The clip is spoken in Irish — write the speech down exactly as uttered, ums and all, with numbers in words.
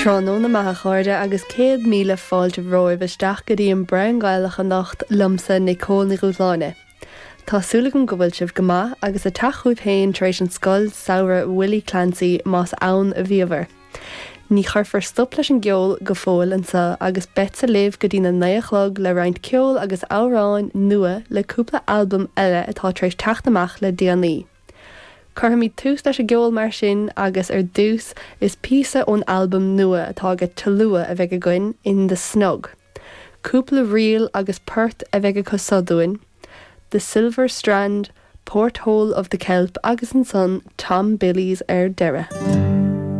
Tráthnóna maith a chairde agus céad míle fáilte romhaibh isteach go dtí an Braon Gaelach anocht liomsa Nicole Ní Dhúshláine. Tá súil agam go bhfuil sibh go maith agus ag teacht chugaibh féin tar éis an scoil samhraidh Willie Clancy más ann a bhíobhair. Ní chuirfear stop leis an gceol go fóill anseo agus beidh libh go dtí na naoi a chlog le roinnt ceol agus amhráin nua le cúpla albam eile atá tar éis teacht amach le déanaí. Cuirfimid tús leis an gceol mar sin agus ar dtús is píosa ón albam nua atá ag Talua a bheidh againn in the Snug. Cúpla ríl agus port a bheidh acu seo dúinn, The Silver Strand, Porthole of the Kelp agus ansan Tom Billy's ar deireadh.